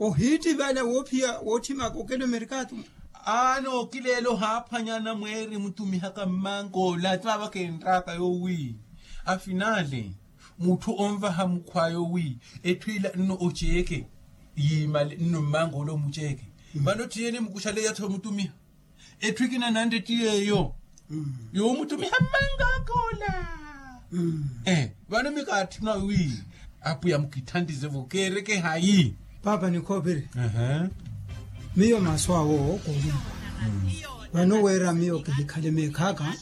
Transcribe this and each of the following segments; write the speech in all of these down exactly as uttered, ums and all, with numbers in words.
Ohiittivala woophiya wootthimaka okela omerikatu. Aana okileela ohaaphwanya anamweeri emutumihaka mmankoola ati vaava kenttaaka yoowi afinale mutthu onvaha mukhwaya owi etthu ila nno oceeke yiimale nno mmankoola omuceeke. Vano tthiyeni mukuxaleya tho mutumiha etthu ekina nantte tti yeeyo yoomutumiha mmankoola. Vano mikaatthuna wi apwiya mukitthantise vo keereke hayi? Paapa nikhoopiri. Miyo maasu awo kooliwa vano weera miyo kihikhale meekhaaka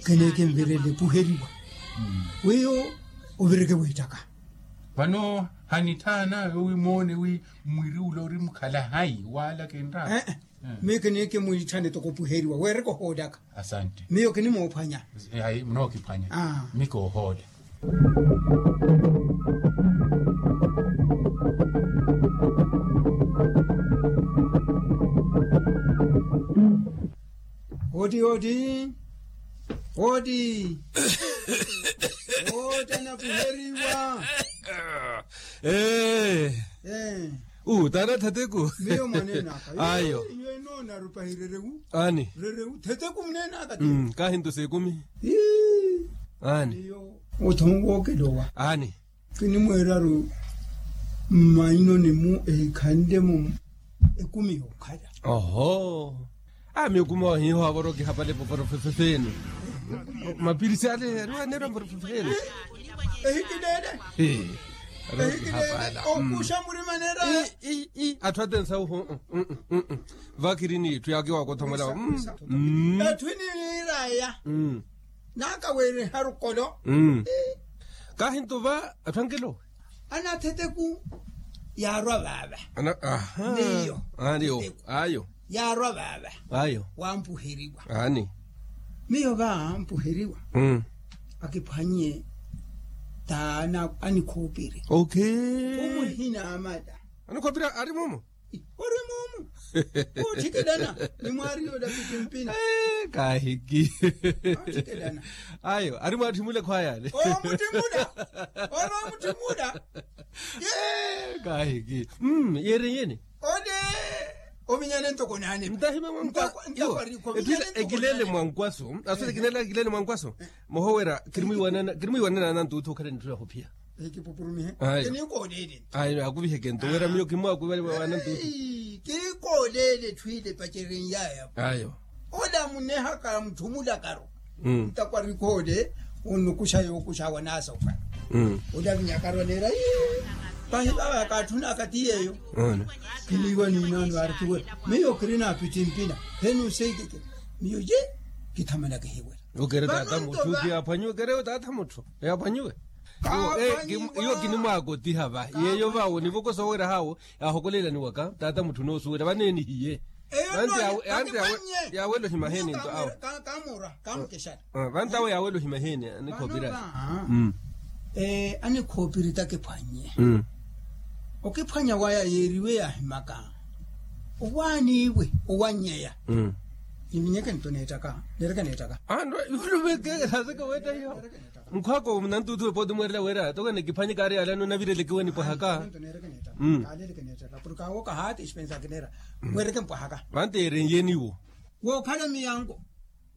kineekinvirele epuheriwa wiiyo ovireke wiittaka. Vano hanitthana yoowi moone wi mwiri ula ori mukhala hayi waala kenttaaka. Ee. Miyo kiniikimwiitthane toko opuheriwa weereke ohoolaka. Asante. Miyo kinimoophwanya. Hayi munookiphwanya. Mikoohoola. Oti oti. Oti. Oti anapuheriwa. Ee. Uu taana thateku. Miyo mwaneenaka. Ayo. Iwe inoona rupahirerewu. Aani. Rerewu thetheku muneenaka ti. Kaahintusa ekumi. Aani. Iyo. Othonwookelowa aani. Kinimweeraru mmainoni-mu ehikhanle-mu ekumi yookhala. Oho. Ami ekumi ohiiho avoro kihapale poporo fefefeeni. Mapirisi ale ariwaneera mporo fefefeeni. Ehikileele. Ehikileele. Okuxa murima neera. Atthu atensa uhu. Vakiri n'itthu yaakiwakothomola. Etthu iniiraya. Naakaweeriha rukolo. Kaahintuva atthu ankelo. Anatheteku yaarwa vaava. Miyo ayo. Yaarwa vaava. Ayo. Wampuheriwa. Aani. Miyo va ampuheriwa. Akiphwanye taana anikhoopiri. Omuhina amata. Anikhoopiri ari mumu. Ori mumu. Ootthikilana. Nimwaariyo olapiti mpina. Kaahiki. Ayo ari mwaatthimule khwayale. Omutthimula. Ori omutthimula. Kaahiki. Yeereyeni. Ole. Ovinyane ntoko naane. Ntahima mwankwaso. Ekileele mwankwaso. Aswele ekileele mwankwaso. Mohoowera. Kirimwiiwanana nantuuthu okhala nitthula khuphiya. Ayo. Akuviheke nto wira miyo kimwakuva wanantutu. Kiikooleele etthu ile epacerenyaaya. Ayo. Ola munehaka mutthumulakaru. Ntakwarikoole onukuxa yookuxa wanaasokha. Ola vinyakaru aneera. Pahi vava kaatthunaka ti yeeyo. Kiniiwa niinaano aari tuwe. Miyo kirina apittimpina. Heni oseikeke. Miyo ye kithamana kihiwela. Okere taata mutthu kiyaphwanyiwe kerewe taata mutthu. Eyaphwanyiwe. Iyo kinimwaakotiha va yeeyo va wonivokosa oweera haawo. Yaahokoleelaniwaka taata mutthu noosuwela vano enihiye. Vanti yaawela ohimaheni nto awo. Vanti awo yaawela ohimaheni. Anikhoopiri. Anikhoopiri takiphwannye. Okiphwanya waya yeeriwe yaahimaka owaaniiwe. Owannyeya. Niminyeke nto neettaka. Neereke neettaka. Anto yulumekeeke naaseke weetta hiyo. Mukhwaka omunantuuthu epooti mweerela wira tokene kiphwanye kaari yaalano navirelekiwe nipwahaka. Kaaleeleke neettaka porke awo kahaati expensa kineera. Mweereke mpwahaka. Vanti yeerenyeeni iwo. Wookhala miyango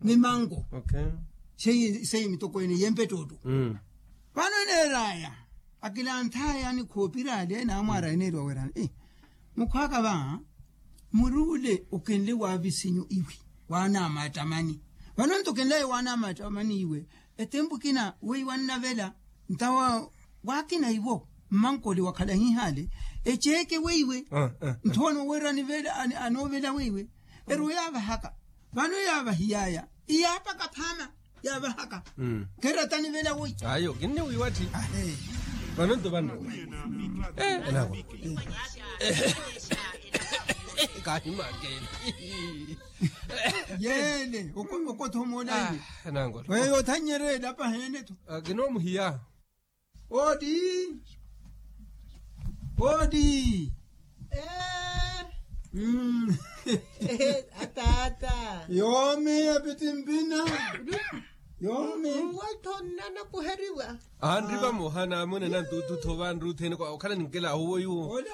mimango. Seiyi mitokweene yempettootto. Vano eneeraya akilanthaya anikhoopiri ale naamwaara eneeriwa wira. Mukhwaka va muri ule okenle waavisinyu iwe waanaamaattamani. Vano nto okenlaye waanaamaattamani iwe etempu ekina weiwe annavela. Ntawa waakina iwo mmankole wakhala hihaale eceeke weiwe. Nthowa nooweerani vela anoovela weiwe. Erowa yaavahaka vano yaavahiyaya iyaapaka phaama. Yaavahaka. Kheera tanivela woyi. Ayo kinniwiiwatthi. Vano nto vanno. Enako kahimakele. Yeene okothomola iwe. Weyo othannyerela paheene tho. Kinoomuhiya. Odi. Odi. Ataata. Yoomi epiti mpina. Yoomi. Watthonna napuheriwa. Anri vamoha naamuna nantuututho vanruthene okhala ninkelahu woyuwo.